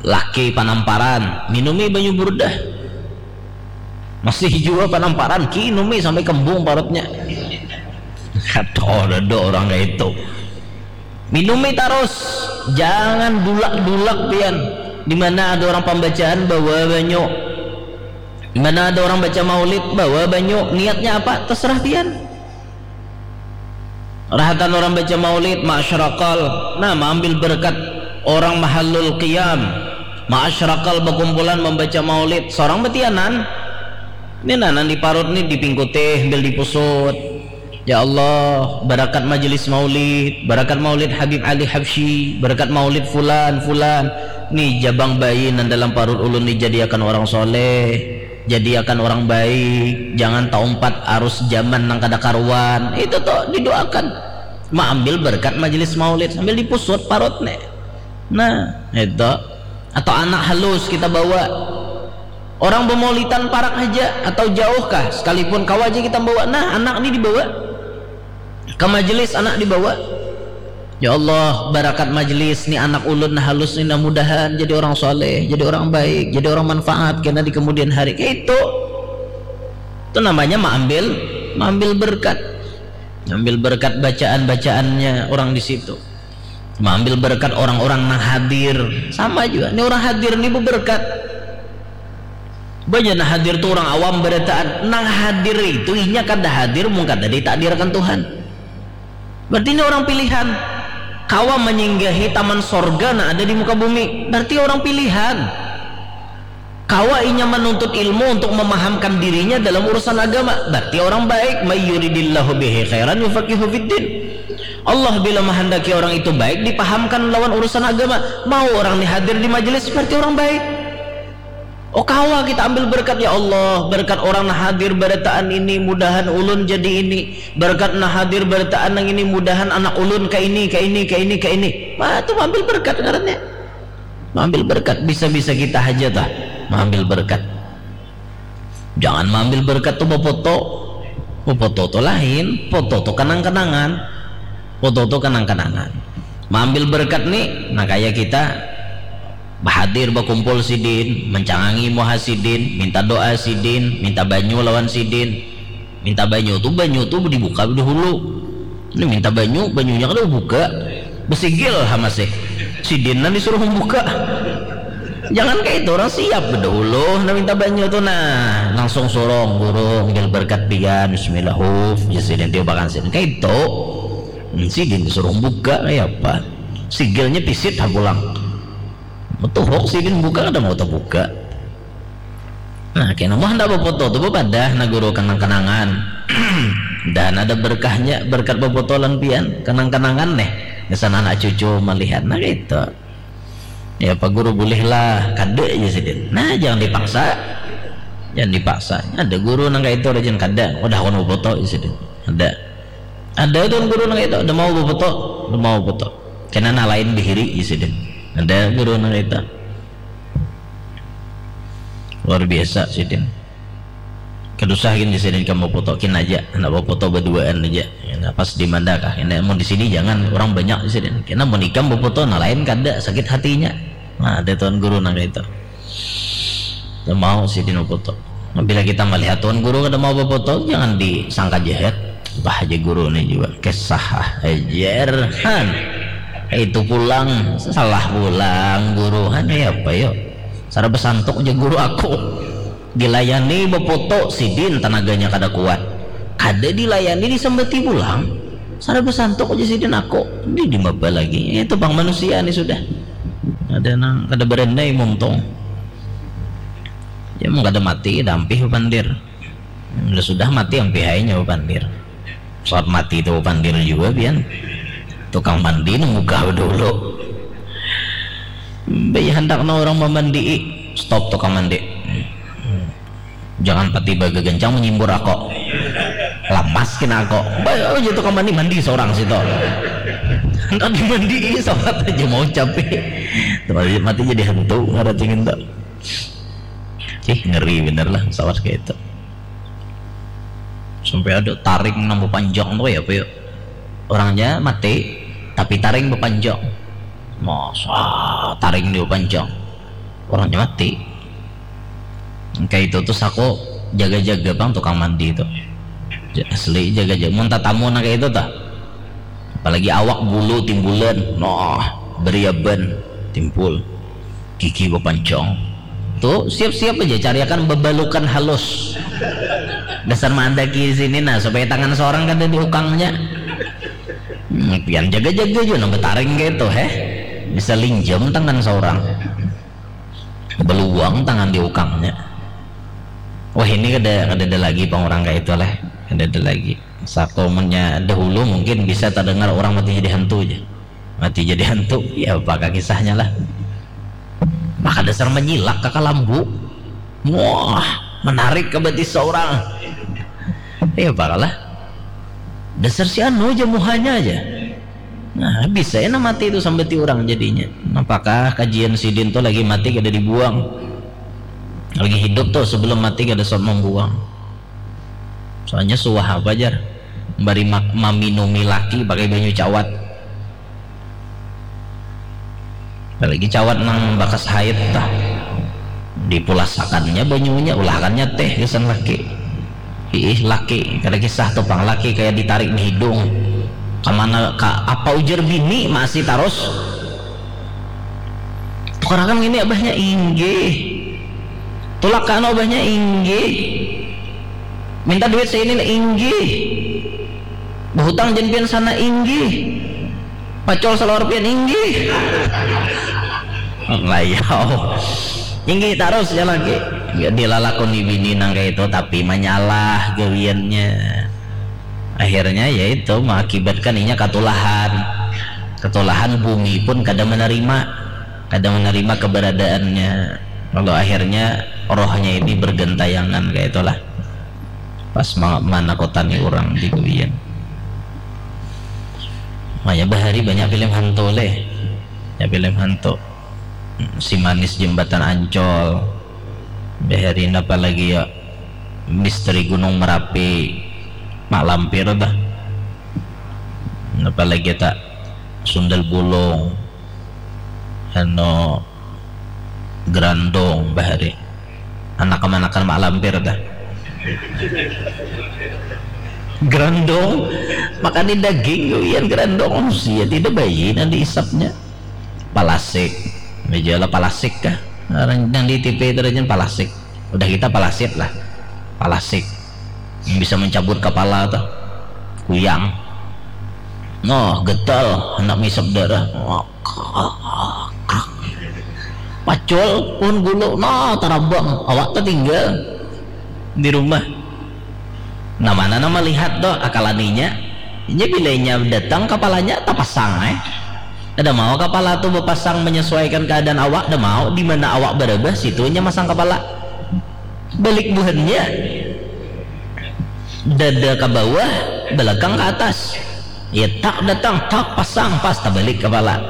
Laki panamparan, minumi banyu burdah. Masih juga panamparan, kinumi sampai kembung parutnya. Kata ada orang kayak itu. Minumi tarus, jangan dulak-dulak pian. Di mana ada orang pembacaan bawa banyu. Di mana ada orang baca maulid bawa banyu. Niatnya apa? Terserah pian. Rahatan orang baca maulid, ma'asyirakal. Nah, mengambil berkat orang mahallul qiyam. Ma'asyirakal berkumpulan membaca maulid. Seorang betianan. Ini nanan di parut nih dipingkutih, ambil dipusut. Ya Allah, barakat majelis maulid, barakat maulid Habib Ali Habsyi, barakat maulid fulan, fulan. Nih jabang bayi nan dalam parut ulun nih jadiakan orang soleh, jadiakan orang baik, jangan taumpat arus zaman nang kada karuan. Itu tuh didoakan. Maambil barakat majelis maulid sambil dipusut parut nih. Nah, itu. Atau anak halus kita bawa. Orang bemaulitan parak haja atau jauh kah, sekalipun kawa aja kita bawa. Nah, anak ni dibawa. Ke majelis anak dibawa. Ya Allah, barakat majelis ni anak ulun nah halus ni nah mudahan jadi orang soleh, jadi orang baik, jadi orang manfaat kena di kemudian hari. Kayak itu. Itu namanya maambil, maambil berkat. Maambil berkat bacaan-bacaannya orang di situ. Maambil berkat orang-orang nang hadir. Sama juga. Ini orang hadir ni beberkat. Banyak nah hadir tu orang awam barataan. Nang hadir itu inya kada hadir mun kada ditakdirkan Tuhan. Berarti ini orang pilihan. Kawa menyinggahi taman sorga nang ada di muka bumi. Berarti orang pilihan. Kawa inya menuntut ilmu untuk memahamkan dirinya dalam urusan agama. Berarti orang baik. May yuridillahu bihi khairan yufaqihu fiddin. Allah bila menghendaki orang itu baik dipahamkan lawan urusan agama. Mau orang ni hadir di majelis berarti orang baik. Oh kawa kita ambil berkat ya Allah, berkat orang nah hadir barataan ini mudahan ulun jadi ini, berkat nah hadir barataan nang ini mudahan anak ulun ke ini, ke ini, ke ini, ke ini. Wah, itu ambil berkat ngarannya. Maambil berkat, bisa-bisa kita haja tah maambil berkat. Jangan maambil berkat tu bafoto. Bafoto tu lain, foto tu kenang-kenangan. Foto tu kenang-kenangan. Maambil berkat ni, nah kaya kita bahadir bakumpul sidin, mencangangi muha sidin, minta doa sidin, minta banyu lawan sidin. Minta banyu tu, banyu tu dibuka dahulu. Ini minta banyu, banyunya kada buka. Besigil ha masih. Sidin nang disuruh membuka. Jangan kayak itu, orang siap dahulu nah minta banyu tu nah. Langsung surung, guru, ambil berkat pian, bismillah, huf, ya sidin tiup akan sidin. Kayak itu. Hmm, sidin disuruh buka kayak apa? Sigilnya pisit ha pulang. Betuhuk sidin buka kada mau terbuka. Nah, kena mah handak bafoto tu bapadah nah guru kenang-kenangan. Dan ada berkahnya berkat bafoto lan pian kenang-kenangan neh. Gasan anak cucu malihat, nah kaitu. Ya, Pak Guru, bulih lah, kada, jar sidin. Nah, jangan dipaksa. Jangan dipaksa. Ada guru nang kaitu, rajin kada. Udah, aku mau foto, jar sidin. Ada. Ada tuan guru nang kaitu, ada mau befoto, ada mau befoto. Kena nang lain dihiri, jar sidin. Ada guru nang kaitu. Luar biasa sidin. Kada usah gin, jar sidin, kamu foto, kin aja. Handak befoto baduaan aja. Nah, pas di mana kah? Nah, mun di sini jangan, orang banyak, jar sidin. Kena mun ikam befoto, nang lain kada, sakit hatinya. Nah, ada tuan guru nang kaitu. Kada mau sidin befoto. Nah, bila kita melihat tuan guru kada mau befoto, jangan disangka jahat. Bah, aja guru ni jua. Kisah ah, ajar. Han. Itu pulang, salah pulang guru. Han, ya apa yo? Sara besantuk aja guru aku. Dilayani befoto, sidin tanaganya kada kuat. Kada dilayani, disambati pulang. Sara besantuk aja sidin aku. Di, di maba lagi. Itu pang manusia ni sudah. Ada nang kada berendai muntung. Ya, mun kada mati, dampih pandir. Bila sudah mati, ampih ai nya pandir. Saat mati tu pandir jua pian. Tukang mandi nang mugah dulu. Baya handak nang orang mamandii. Stop tukang mandi. Jangan pati bagagancang manyimbur ako. Lamas kena ako. Baya aja tukang mandi, mandi seorang situ. Handak dimandii, sawat aja mau capi. Mati, mati jadi hantu, ngarati ngintu. Ih, ngeri bener lah sawat kayak itu. Sampai ada taring nang bepanjang tu, ya apa ya? Orangnya mati, tapi taring bepanjang. Masa taring dia bepanjang? Orangnya mati. Kayak itu tuh, aku jaga-jaga pang tukang mandi itu. Asli jaga-jaga. Mun tatamu nang kayak itu tuh. Apalagi awak bulu timbulan. Nah, beriaban timbul. Gigi bepanjang. Tuh, siap-siap aja cariakan bebalukan halus. Dasar mandaki sini, nah, supaya tangan seorang kada diukangnya. Hmm, pian jaga-jaga juga nang betaring kayak itu, heh. Bisa linjam tangan seorang. Beluang tangan diukangnya. Wah, ini kada, kada ada lagi pang orang kayak itu lah. Kada ada lagi. Saku munnya dahulu mungkin bisa terdengar orang mati jadi hantu aja. Mati jadi hantu, ya apa kisahnya lah. Maka dasar menyilak ke kalambu. Wah, menarik ke betis seorang. Ya apa lah. Dasar si anu aja muhanya aja. Nah, bisa ya mati itu sampai ti orang jadinya. Apakah kajian sidin tuh lagi mati kada dibuang? Lagi hidup tuh sebelum mati kada sempat membuang. Soalnya suah apa jar? Bari maminumi laki pakai banyu cawat. Apalagi cawat nang bakas haid tah. Dipulasakannya banyunya, ulahakannya teh gasan laki. Ih, laki, kada kisah tuh pang, laki kayak ditarik di hidung. Kemana, ka apa ujar bini masih tarus. Tukarakan gini abahnya, inggih. Tulak ka anu abahnya, inggih. Minta duit seinin, inggih. Behutang jen pian sana, inggih. Pacol salawar pian, inggih. Layau. Inggih tarus ya lagi. Ya, dilalakoni bini nang kayak itu, tapi manyalah gawiannya. Akhirnya ya itu mengakibatkan inya katulahan. Katulahan, bumi pun kada menerima, kada menerima keberadaannya. Lalu akhirnya rohnya ini bergentayangan kayak itulah. Pas ma- manakutani orang di gawian. Makanya bahari banyak film hantu leh. Ya, film hantu. Si Manis Jembatan Ancol. Bahari napa lagi ya? Misteri Gunung Merapi. Mak Lampir dah. Napa lagi tak? Sundel Bolong. Anu, Grandong bahari. Anak kemanakan Mak Lampir dah. Grandong, makani daging gawian grandong, manusia tidak bayi nanti isapnya. Palasik, meja lah palasik kah? Orang yang di T V itu aja palasik. Udah kita palasit lah, palasik. Yang bisa mencabut kepala tuh, kuyang. Noh, getal, hendak ngisap darah. Pacul, pohon gulu, nah, tarabang. Awak tertinggal di rumah. Nah, mana nama lihat tuh akalaninya? Inya bilanya datang, kepalanya tapasang, eh. Kada mau kapala tu bapasang menyesuaikan keadaan awak, kada mau, di mana awak barabah, situ nya masang kapala. Balik buhannya. Dada ka bawah, belakang ka atas. Ya, tak datang, tak pasang, pas tabalik kapala.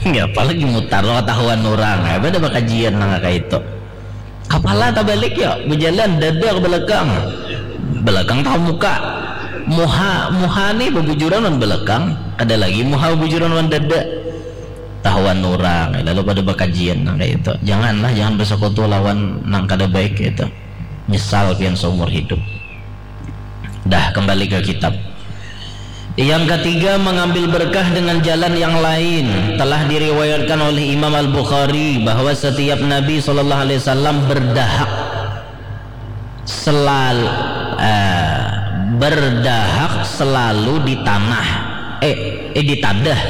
Ya, apalagi mutar lo katahuan urang. Apa ada bakajian nang kaya itu? Kapala tabalik ya, bejalan dada ke belakang. Belakang tahu muka. Muha, muha ni bebujuran wan belakang. Ada lagi muha bebujuran wan dada. Tahuan urang, lalu pada bakajian nang kaya itu. Janganlah, jangan bersekutu lawan nang kada baik itu. Nyesal pian seumur hidup. Dah, kembali ke kitab. Yang ketiga, mengambil berkah dengan jalan yang lain. Telah diriwayatkan oleh Imam Al-Bukhari bahwa setiap Nabi sallallahu alaihi wasallam berdahak selalu, eh, berdahak selalu di tanah, eh, eh, di tadah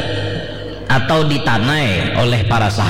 atau ditanai oleh para sahabat.